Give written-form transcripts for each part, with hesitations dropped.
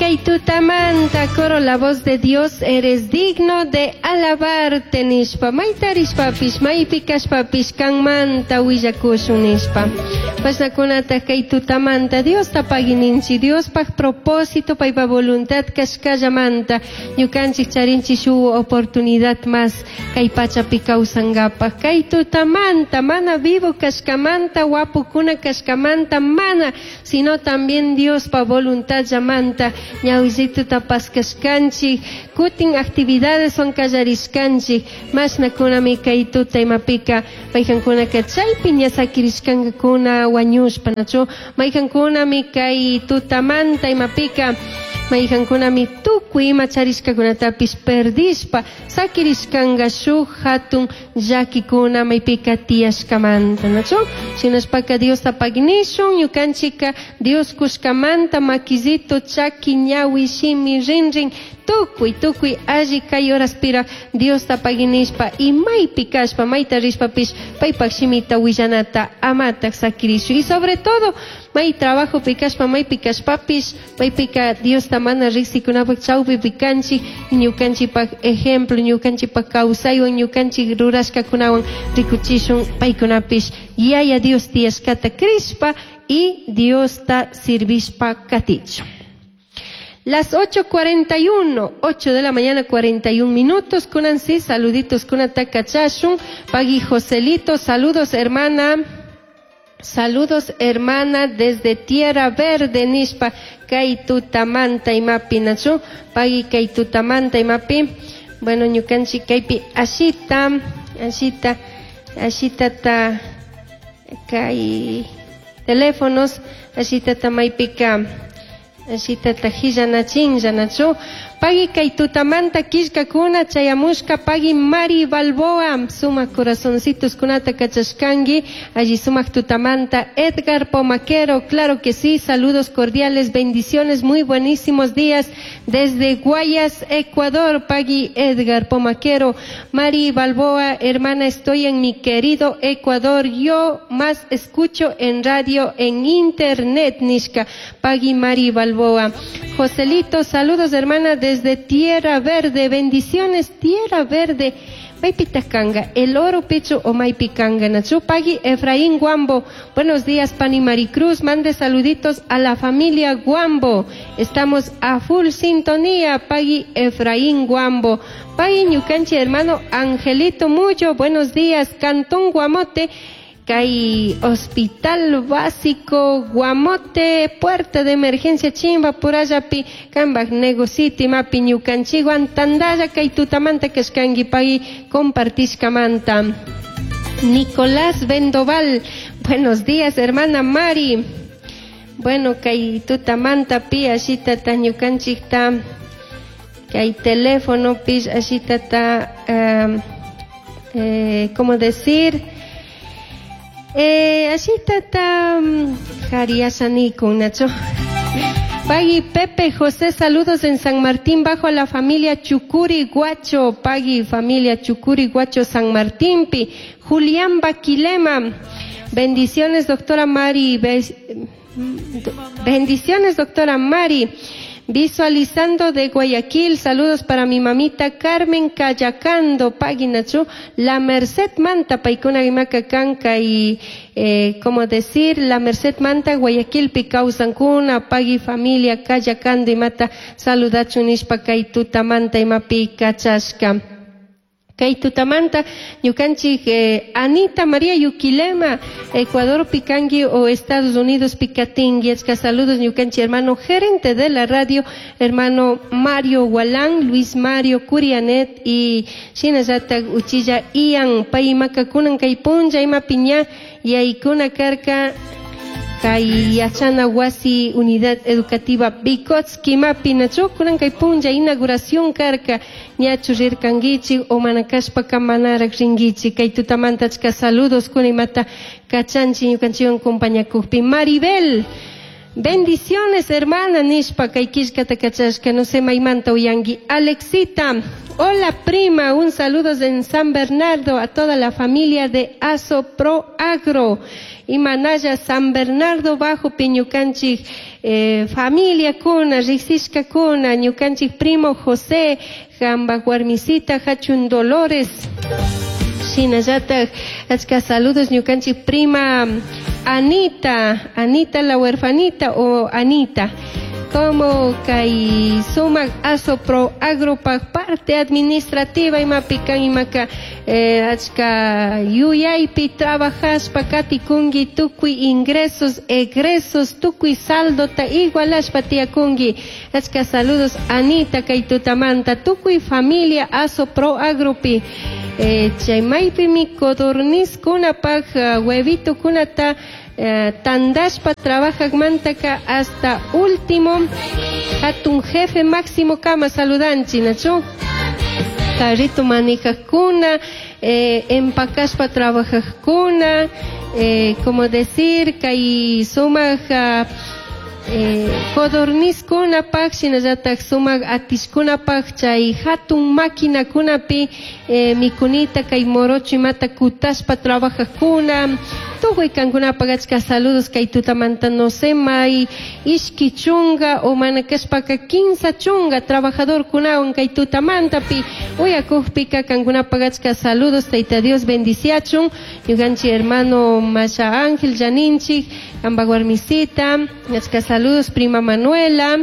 Kay tutamanta coro La Voz de Dios, eres digno de alabarte nishpa, mayta rishpapish, maypi kashpapish, kanmanta willakushun nishpa. Pashnakunataj kay tutamanta Diosta pagui ninchik, Diospaj propósito, paypa voluntad kashkallamanta, ñukanchik charinchik shuk oportunidad más kay pachapi kawsankapaj. Kay tutamanta mana vivo kashkamanta, wapukuna kashkamanta, mana, sino también Diospa voluntad llamanta, ñawillituta paskashkanchik, kutin actividades son kallarishkanchik, mashnakunami kay tuta imapika, maykankunaka chaypi ña sakirishkankakuna wañushpa, nachu, maykankunami kay tutamanta imapika, maykankunami tukuy ima charishkakunatapish perdishpa, sakirishkanka shuk hatun llakikuna maypika tiyashkamanta, nachu, shinashpaka Diosta pagnishun, ñukanchika Dios kushkamanta makillito, chaki, ñawi, shimi, rinrin, tukuy, tukuy alli kay horaspira Diosta paginishpa y maypi kashpa, mayta rishpapish, paypak shimita willanata amatak sakirishu. Y sobre todo, may trabajo pikashpa, maypi kashpapish, maypika Diosta mana riksikunapak chawpi pikanchik, ñukanchikpak ejemplo, ñukanchikpak kawsaywan, ñukanchik rurashkakunawan rikuchishun paykunapish Yaya Dios tiyashkata crishpa y Diosta sirvishpa katichun. Las 8:41, 8 de la mañana 41 minutos, kunansi, saluditos kunata kachashun, pagui Joselito, saludos hermana, saludos hermana desde Tierra Verde, nishpa, kay tutamanta imapi nachu, pagui kay tutamanta imapi, bueno, ñukanchik kaypi ashita, ashita, ashita ta, kay teléfonos, ashita ta maypika, ashita ta hillanachin, llanachu, pagui kay tutamanta killkakuna chayamushka, pagui Mari Balboa, sumak corazoncitos kunata kachashkangi, allí sumak tutamanta, Edgar Pomaquero, claro que sí, saludos cordiales, bendiciones, muy buenísimos días desde Guayas, Ecuador, pagui Edgar Pomaquero, Mari Balboa, hermana, estoy en mi querido Ecuador, yo más escucho en radio, en internet, nishka, pagui Mari Balboa. Joselito, saludos hermana desde Tierra Verde, bendiciones, Tierra Verde. Maypitakanga, el oro pecho o maypikanga, nachu pagui Efraín Guambo. Buenos días, Pani Maricruz, mande saluditos a la familia Guambo. Estamos a full sintonía, pagui Efraín Guambo. Pagui ñukanchi hermano Angelito Muyo, buenos días, Cantón Guamote. Kay Hospital Básico Guamote, puerta de emergencia Chimba, Purayapi, Kambaj Negociti, Mapi ñukanchikwan, tandalla kay tutamanta kashkanki pagui compartishkamanta. Nicolás Vendoval, buenos días, hermana Mari. Bueno, kay tutamanta pi ashita ta ñukanchikta, kay teléfono pi ashita ta, ¿cómo decir? Ashita ta, jariashanikun, Nacho. Pagui Pepe José, saludos en San Martín, bajo a la familia Chucuri Guacho. Pagui familia Chucuri Guacho, San Martín, pi. Julián Baquilema, bendiciones, doctora Mari. Bendiciones, doctora Mari. Visualizando de Guayaquil, saludos para mi mamita Carmen Cayacando, pagui Nacho, la Merced Manta, paikuna imaka kanka y, como decir, la Merced Manta, Guayaquil, Picausancuna, pagui familia Cayacando y mata, saludachu nishpa kay tutamanta imapi kachashka. Kay tutamanta, ñukanchik Anita María Yuquilema, Ecuador Picangui o Estados Unidos Picatingui. Achka saludos ñukanchik hermano gerente de la radio, hermano Mario Gualán, Luis Mario Curianet y shinallata uchilla Ian, pay makakunan kay punlla ima piña yaykuna karka kay yachana wasi unidad educativa Vygotsky mapi nachu kunan kay punlla inauguración karka ñachu rirkankichik o mana kashpaka manarak rinkichik kay tutamanta achka saludos kuna imata kachanchik ñukanchikwan compañakukpi. Maribel, Bendiciones, hermana, nishpa kay killkata kachashka, no sé maymanta uyanki. Alexita, hola prima, un saludo en San Bernardo a toda la familia de Aso Pro Agro. Imanalla San Bernardo bajo ñukanchik familia kuna, riksishka kuna, ñukanchik primo José, jamba warmisita Hachun Dolores. Shinallatak achka saludos ñukanchik prima Anita, Anita la huerfanita o Anita. Como kay sumak Aso Pro Agropak parte administrativa imapi kan imaka achka yuyaypi trabajashpa katikunki tukuy ingresos, egresos, tukuy saldota igualashpa tiyakunki. Achka saludos Anita kay tutamanta tukuy familia Aso Pro Agropi. Chay maypimi codornizkunapak huevito kunata tandashpa trabajajmantaka hasta último hatun jefe máximo kama saludanchi nachu carrito manejajkuna empacashpa trabajajkuna como decir kay sumak codornizkunapak shinallatak sumak atishkunapak chay hatun maquinakunapi mikunita kay morocho imata kutashpa trabajajkuna tukuy kankunapak achka saludos kay tutamanta no sé may ishki chunga o mana kashpaka 15 chunga trabajador kunawan kay tutamantapi uyakukpika kankunapak achka saludos Tayta Dios bendiciachun ñukanchik hermano Masha Ángel Janinchik kampak warmisita achka saludos prima Manuela.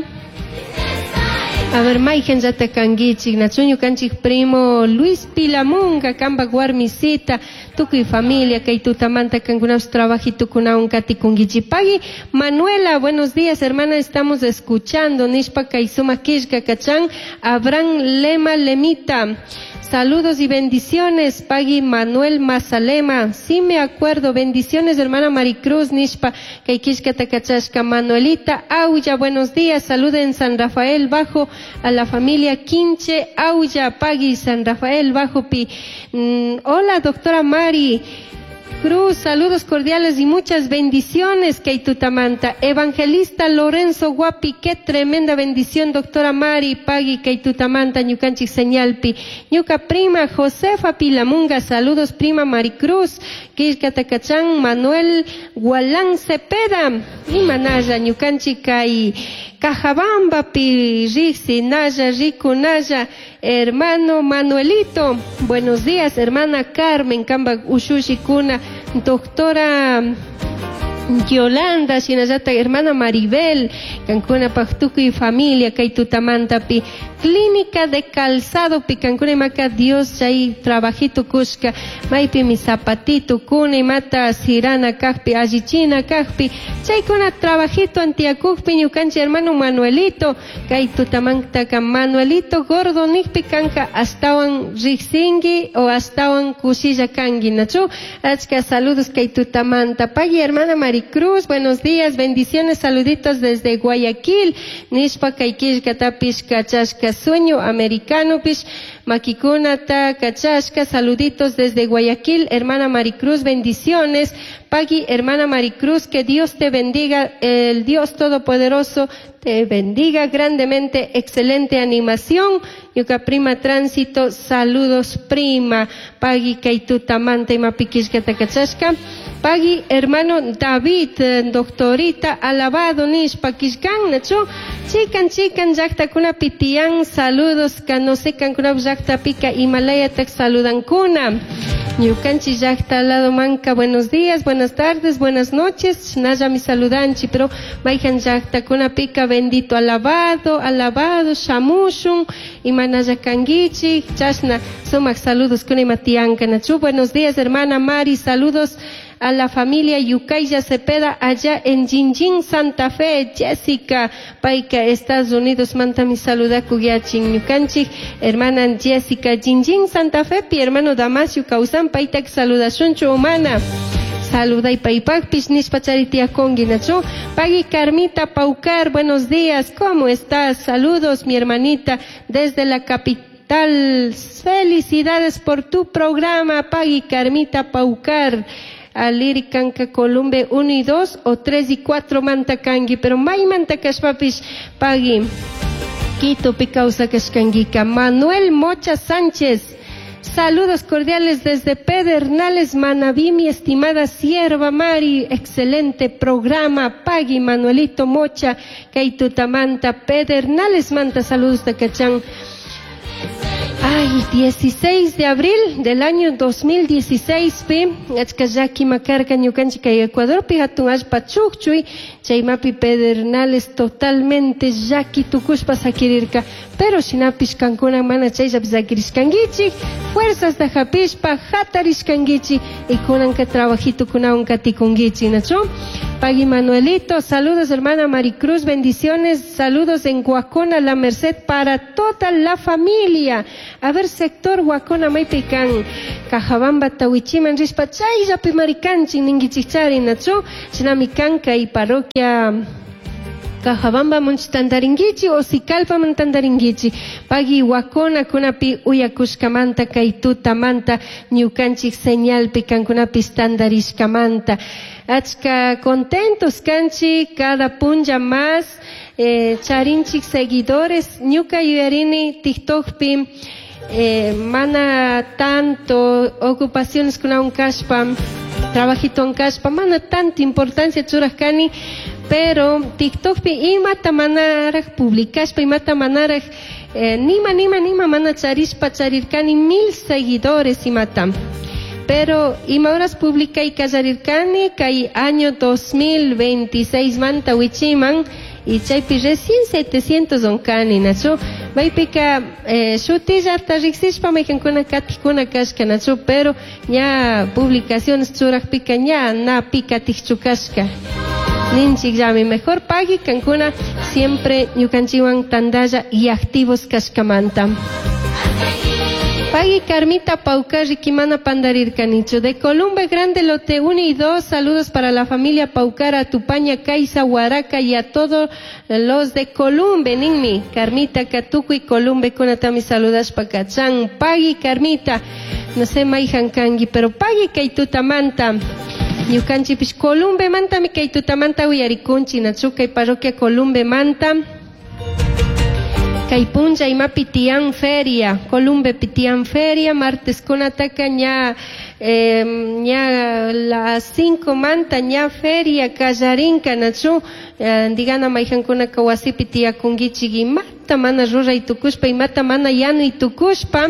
A ver, mayjan llata kankichik, nachu ñukanchik primo Luis Pilamunga, kampak warmisita, tukuy familia, kay tutamanta kankunapish trabajitukunawan katikunkichik. Pagui Manuela, buenos días, hermana, estamos escuchando, nishpa kay sumak killka kachan, Abraham Lema Lemita. Saludos y bendiciones, Pagui Manuel Mazalema. Sí me acuerdo, bendiciones, hermana Maricruz, nishpa, kay killkata takachashka, Manuelita Aulla, buenos días, saluden San Rafael Bajo a la familia Quinche Aulla, Pagui San Rafael Bajo Pi. Hola, doctora Mari Cruz, saludos cordiales y muchas bendiciones, Keitutamanta. Evangelista Lorenzo Guapi, qué tremenda bendición, doctora Mari, Pagui, Keitutamanta, Ñukanchik Señalpi. Ñuka prima Josefa Pilamunga, saludos prima Maricruz, Killkatakachan, Manuel Gualán Cepeda, y Manaya, Ñukanchik Kay, Cajabamba, Pi, Rixi, Naya, Rico, Naya, hermano Manuelito, buenos días, hermana Carmen, Kamba, Ushushi, Kuna, doctora Yolanda, shinallata hermana Maribel, kankuna tukuy familia, kay tutamantapi, clínica de calzado, pi kankuna imaka Dios chay trabajito kushka, maypi mi zapatito kuna imata sirana kajpi, allichina kajpi, chaykuna trabajito antiakukpi ñukanchik hermano Manuelito, kay tutamantaka Manuelito gordo nikpi kanka astawan riqsinki o astawan kushilla kanki, nachu? Achka saludos kay tutamanta. Pagui hermana Maricruz, buenos días, bendiciones, saluditos desde Guayaquil, nishpa kay killkatapish kachashka sueño americano pish makikunata kachashka, saluditos desde Guayaquil, hermana Maricruz, bendiciones. Pagui, hermana Maricruz, que Dios te bendiga, el Dios Todopoderoso te bendiga grandemente, excelente animación. Ñuka prima Tránsito, saludos prima. Pagui kaitutamanta imapikishkata kachashka. Pagui, hermano David, doctorita, alabado nishpa kishkan, nachu? Chikan, chikan, llaqtakunapi tiyan, saludos, ka no sé kankunap llaqtapika Himalayata saludankuna. Ñukanchik llaqta lado manka, buenos días, buenas tardes, buenas noches, naya mi saludanchi, pero mayjan llaqtakunapika bendito alabado, alabado, shamushun, imanaya kankichik, chashna, sumak saludos kuna imatiyanka, nachu? Buenos días, hermana Mari, saludos a la familia Yucaya Cepeda allá en Jinjin, Santa Fe. Jessica Paica, Estados Unidos, manta mi saluda kugiachin ñukanchik, hermana Jessica Jinjin, Santa Fe, pi hermano Damasio Causan, paitak saludashunchu humana. Saluda y paipakpish nishpa charitiakongi nachu. Pagui Carmita Paucar, buenos días, ¿cómo estás? Saludos, mi hermanita, desde la capital. Felicidades por tu programa, Pagui Carmita Paucar. Aliri kanka Columbe 1 y 2 o 3 y 4 manta kanki, pero maymanta kashpapish pagui. Quito kawsakashkankika. Manuel Mocha Sánchez. Saludos cordiales desde Pedernales, Manabí, mi estimada sierva Mari. Excelente programa. Pagui Manuelito Mocha, Kaitutamanta, Pedernales Manta. Saludos de Cachán. Ay, 16 de abril del año 2016 pi, achka llaki makarka ñukanchik kay Ecuadorpi hatun allpa chukchuy, chaymapi Pedernales totalmente llaki tukushpa sakirirka, pero shinapish kankuna mana chayllapi sakirishkankichik, fuerzas da hapishpa hatarishkankichik y kunanka trabajitukunawan katikunkichik, ¿nachu? Pagui Manuelito, saludos hermana Maricruz, bendiciones, saludos en Huacona, La Merced para toda la familia. A ver, sector Huacona, maypikan, Cajabamba, Tawichiman, rishpa, chayllapi marikanchik, ninkichikchari, nachu? Shinami kanka y parroquia Cajabamba munch tantarinkichik o Sicalpa tantarinkichik. Pagui Huacona kunapi uyakushkamanta kay tutamanta ñukanchik señalpi kankunapis tantarishkamanta. Achka contentos kanchik cada punlla más charinchik seguidores ñuka yuyarini TikTokpi mana tanto ocupaciones kunawan kashpa trabajito kashpa mana tanta importancia churaj kani, pero TikTokpi imata manaraj publicashpa imata manaraj nima nima nima mana charishpa charirkani 1000 seguidores imata. Pero ima horas publicay kallarirkani kay año 2026 manta wichiman y chaypi recién 700 onkani nachu maypika shutillata riqsishpa mayqankuna katikuna kashka nachu, pero ña publicaciones churajpika ña na pi katikchu kashka ninchikllami mejor pagui kankuna siempre ñukanchikwan tandalla y activos kashkamanta. Pagui Carmita Paucar, Riquimana Pandarircanicho. De Columbe Grande, lote 1 y 2, saludos para la familia Paucar, Tupaña, Caiza, Huaraca y a todos los de Columbe, ninmi. Carmita, Catucu y Columbe, kunatami saludas pacachán. Pagui Carmita, no sé, maijan kangi, pero pagui kaitutamanta. Ñukanchipish Columbe mantami kaitutamanta uyarikunchi, nachuka y parroquia Columbe manta. Kay punlla imapi tiyan feria, Columbe pitian feria, martes kunataka ña ña las 5 manta ña feria kallarinka nachu, digana mayqankunaka wasipi tiyakunkichik imata mana ruray tukushpa imata mana yanuy tukushpa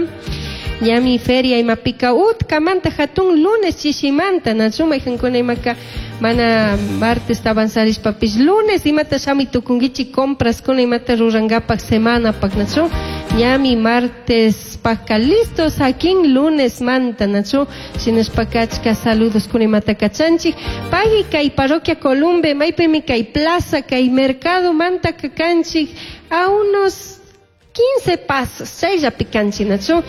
ñami feria imapika utkamanta hatun lunes chishimanta nachu mayqankuna imaka mana martes avanzarishpapish lunes imata shamuy tukunkichik compras kuna imata rurankapak semanapak nachu ñami martes paka listos akin lunes manta nachu shinashpaka achka saludos kuna imata kachanchik pagui kay parroquia Columbe maypimi kay plaza kay mercado manta kakanchik a unos 15 pasos, chayllapi kanchik nachu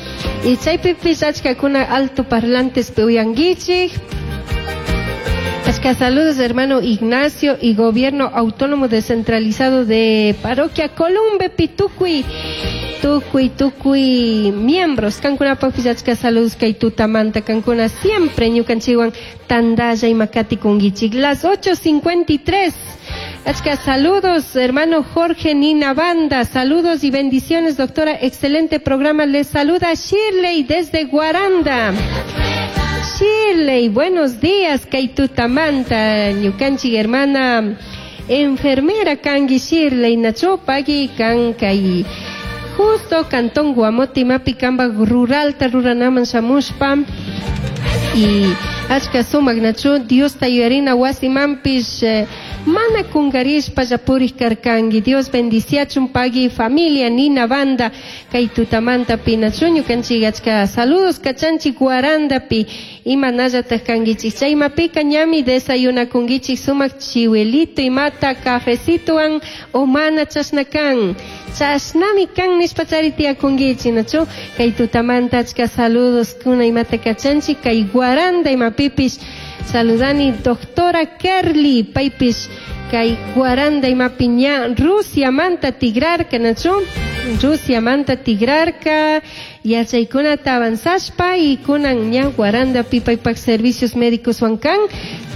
y chaypipish achkakuna alto parlantes uyankichik. Achka saludos hermano Ignacio y gobierno autónomo descentralizado de parroquia Columbe Pitucuy, Tucuy, Tucuy, miembros, kankunapaqpis achka saludos kay tutamanta, kankuna siempre ñukanchikwan tandalla y makati kunkichik. Las 8:53. Achka saludos, hermano Jorge Nina Banda, saludos y bendiciones, doctora, excelente programa, les saluda Shirley desde Guaranda. Shirley, buenos días, kaitutamanta, ñukanchik hermana enfermera kangi Shirley, nacho pagui kan kay justo cantón Guamoti mapi kamba rural ruranaman shamushpa y achka sumak nacho Dios tayarina wasimanpish mana kungarishpa llapurij karkanki. Dios bendiciachun pagui familia Nina Banda kay tutamanta pi nachu ñukanchik achka saludos kachanchik Guarandapi imanallataj kankichik chaymapika ñami desayunakunkichik sumak chiwelito imata cafecitowan o mana chashna kan chashnami kan nishpa chari tiyakunkichik nachu kay tutamanta achka saludos kuna imata kachanchik kay Guaranda imapipish saludani doctora Kerly paypish kay Guaranda imapi ña Rusia manta tigrarka nachu. Rusiamanta tigrarka yachaykunata avanzashpa y kunan ña Guarandapi paypak servicios médicos kan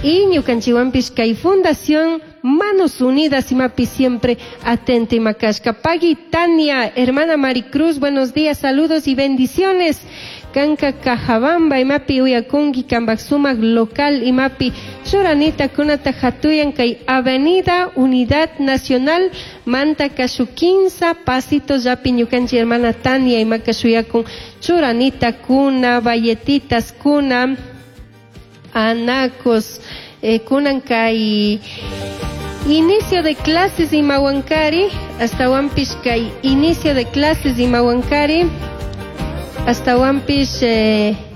y ñukanchikwanpish kay fundación Manos Unidas imapi siempre atenta ima kashka. Pagui Tania, hermana Maricruz, buenos días, saludos y bendiciones. Kanka Cajabamba imapi uyakunki kanpak sumak local imapi churanita kunata hatuyan kay Avenida Unidad Nacional manta kashu 15 pasitos yapi ñukanchik hermana Tania imaka shuyakun churanita kuna valletitas kuna anacos kunan kay inicio de clases imawankari astawanpish kay inicio de clases imawankari astawanpish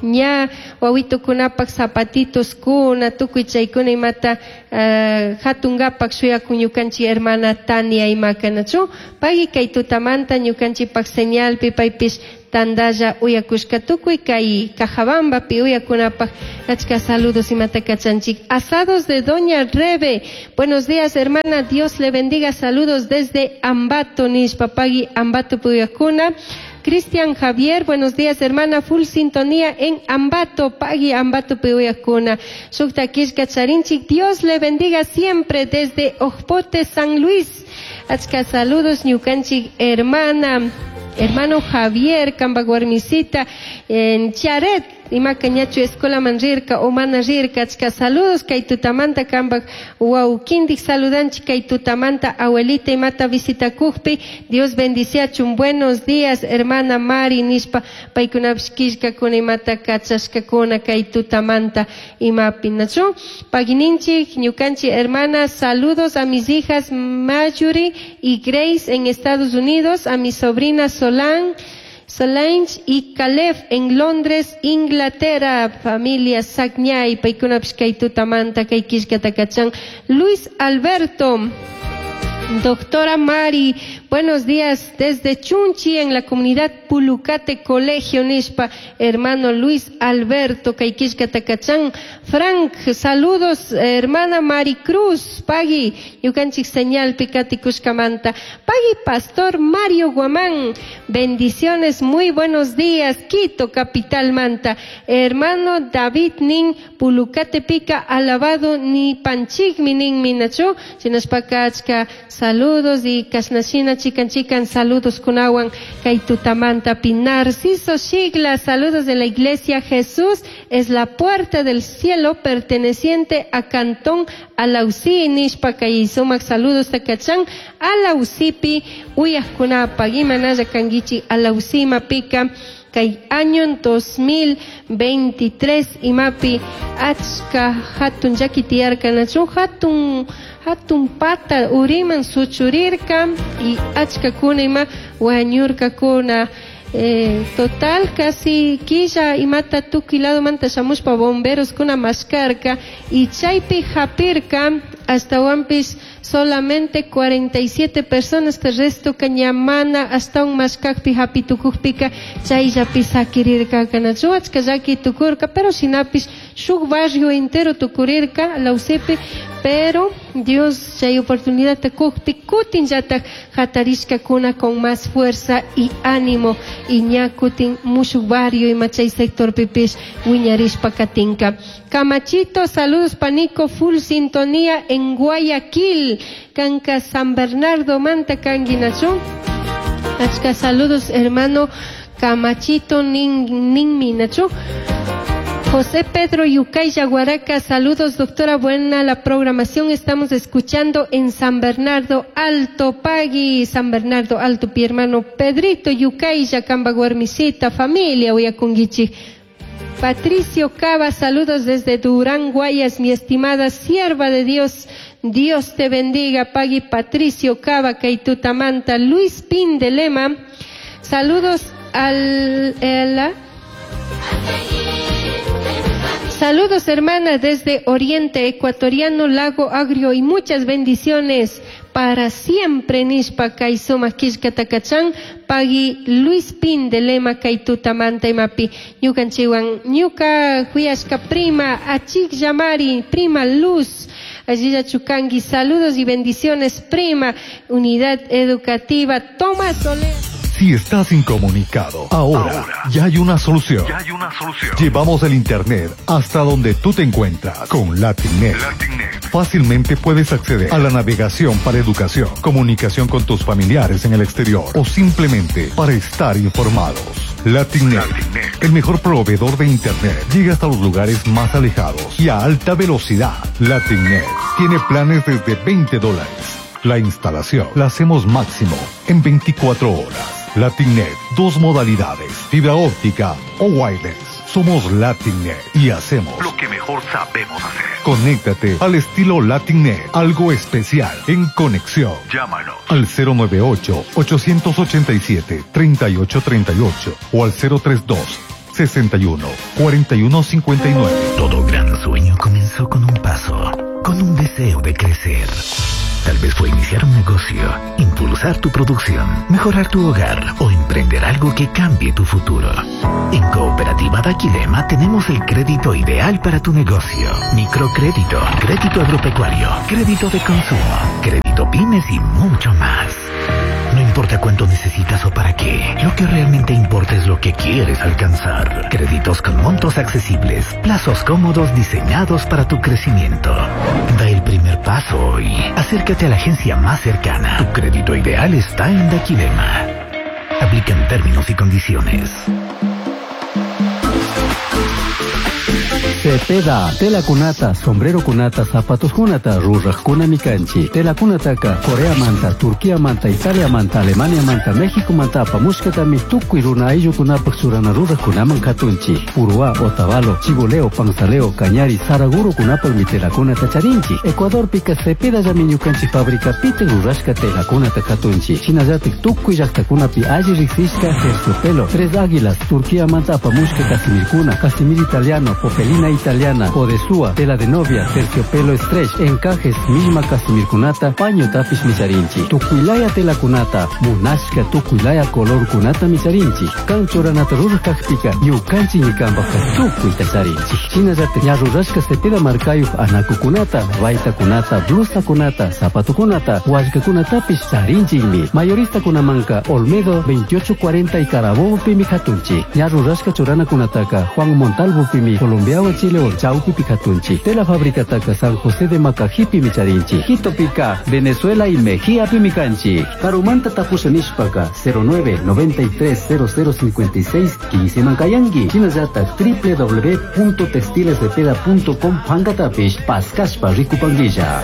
ña wawitukunapak zapatitos kuna tukuy chaykuna imata hatungapak shuyakun ñukanchik hermana Tania imaka nachu pagui kay tutamanta ñukanchikpak señalpi paypish tandalla uyakushka tukuy kay Cajabambapi uyakunapak achka saludos imata kachanchik. Asados de Doña Rebe, buenos días hermana, Dios le bendiga, saludos desde Ambato nishpa pagui Ambato uyakuna. Cristian Javier, buenos días hermana, full sintonía en Ambato, pagui Ambato uyakuna. Shukta kishka charinchik, Dios le bendiga siempre desde Ojpote, San Luis. Achka saludos ñukanchik hermana, hermano Javier, kanpak warmisita en Charet, imaka ñachu escuela manrirka o mana rirka, achka saludos kay tutamanta kanpak wawkindik saludanchik kay tutamanta abuelita imata visitakukpi, Dios bendiciachun, buenos días hermana Mari nishpa paykunapish killkakuna imata kachashkakuna kay tutamanta imapi nachu. Pagininchik ñukanchik hermana, saludos a mis hijas Marjorie y Grace en Estados Unidos, a mi sobrina Solange y Caleb en Londres, Inglaterra, familia Sagñay, paykunapish kay tutamanta kay killkata kachan. Luis Alberto, doctora Mari, buenos días desde Chunchi en la comunidad Pulucate Colegio nishpa, hermano Luis Alberto kay killkata kachan. Frank, saludos hermana Maricruz, pagui ñukanchik señal pikati kushkamanta. Pagui Pastor Mario Guamán, bendiciones, muy buenos días, Quito, capital manta. Hermano David nin Pulucate pica, alabado ni panchikmi nin minachu, shinashpaka achka saludos y kashnashina chikan chikan saludos kunawan kay tutamanta pi. Narciso Shigla, saludos de la iglesia Jesús es la puerta del cielo perteneciente a Cantón Alausí nishpa kay sumak saludos takachan Alausipi uyajkunapa imanalla kankichik Alausí mapika kay año 2023 imapi achka hatun llaki tiyarka nachu hatun hatun pata uriman suchurirka y achkakuna ima wañurkakuna. Total casi quilla imata tukuy lado manta shamushpa bomberos kuna mashkarka y chaypi hapirka astawanpish solamente 47 personas, el resto cañamana hasta un mashkakpi hapitukukpika chayllapi sakirirka kanachu achka llaki tukurka, pero shinapish shuk barrio entero tukurirka Alausipi, pero Dios chay oportunidad kukpi kutin llatak hatarishkakuna con más fuerza y ánimo y ña kutin mushuk barrio ima chay sector pipish wiñarishpa katinka. Camachito, saludos panico, full sintonía en Guayaquil, Canca San Bernardo, Manta Canguinachu. Achka saludos hermano Camachito nin nin. José Pedro Yucay Yaguaraca, saludos doctora, buena la programación, estamos escuchando en San Bernardo Alto, Pagui, San Bernardo Alto, pi hermano Pedrito Yucay, Yacamba Guarmisita, familia Uyakunguichi. Patricio Cava, saludos desde Durán, Guayas, mi estimada sierva de Dios, Dios te bendiga, Pagui Patricio Cava, Kaitutamanta. Luis Pin de Lema, saludos al... la, saludos hermana desde Oriente Ecuatoriano, Lago Agrio, y muchas bendiciones para siempre nishpa kay sumak killkata kachan pagui Luis Pin de Lema Kaitutamanta imapi ñukanchikwan ñuka huyashka prima Achik Yamari, prima Luz allilla chukangi, saludos y bendiciones prima Unidad Educativa Tomás Soler. Si estás incomunicado, ahora, ya hay una solución. Ya hay una solución. Llevamos el Internet hasta donde tú te encuentras con LatinNet. LatinNet. Fácilmente puedes acceder a la navegación para educación, comunicación con tus familiares en el exterior o simplemente para estar informados. LatinNet, LatinNet. el mejor proveedor de Internet, llega hasta los lugares más alejados y a alta velocidad. LatinNet tiene planes desde 20 dólares. La instalación la hacemos máximo en 24 horas. LatinNet, dos modalidades, fibra óptica o wireless. Somos LatinNet y hacemos Lo que mejor sabemos hacer. Conéctate al estilo LatinNet, algo especial en conexión. Llámanos. Al 098-887-3838 o al 032 61 41 59. Todo gran sueño comenzó con un paso, con un deseo de crecer. Tal vez fue iniciar un negocio, impulsar tu producción, mejorar tu hogar o emprender algo que cambie tu futuro. En Cooperativa Daquilema tenemos el crédito ideal para tu negocio. Microcrédito, crédito agropecuario, crédito de consumo, crédito pymes y mucho más. No importa cuánto necesitas o para qué, lo que realmente importa es lo que quieres alcanzar. Créditos con montos accesibles, plazos cómodos diseñados para tu crecimiento. Da el primer paso hoy. Acércate a la agencia más cercana. Tu crédito ideal está en Daquilema. Aplican términos y condiciones. Cepeda, tela kunata, sombrero kunata, zapatos kunata, ruraj mikanchi, tela kunataka, Corea manta, Turquía manta, Italia manta, Alemania manta, México manta, apamushkatami, tukuy runa ayllukunapaj churana rurajkunaman katunchi, Puruá, Otavalo, Chiboleo, Panzaleo, Cañari, Saraguro kunapajmi telakunata charinchi, Ecuadorpika Cepeda llami ñukanchik fábrica pite rurashka telakunata katunchi, shinallatik tukuy llaqtakunapi alli riqsishka terciopelo, Tres Águilas, Turquía manta apamushka casimirkuna, casimir italiano, popelina italiana, podesúa, tela de novia, terciopelo stretch, encajes, misma casimirkunata, paño tapish micharinchi, tukuylaya tela kunata, munashka tukuylaya color kunata micharinchi, kan churanata rurajkajpika, ñukanchik ñikanpajka tukuyta charinchik. Shinallatik ña rurashka cepeda markayuq anakukunata, baytakunata, blusakunata, zapatukunata, wallkakunatapish charinchikmi. Mayoristakunamanka Olmedo 2840 y Carabobo pimi katunchik. Ña rurashka churanakunataka Juan Montalvo pimi Colombiawan Chilewan chawpipi katunchik. Tela fabricataka San José de Macajipi micharinchik. Quitopika, Venezuela y Mejía pimi kanchik. Karumanta tapusha nishpaka 09 93 00 56 15 mankayanki. Shinallatak www.textilescepeda.com pankatapish paskashpa rikupankilla.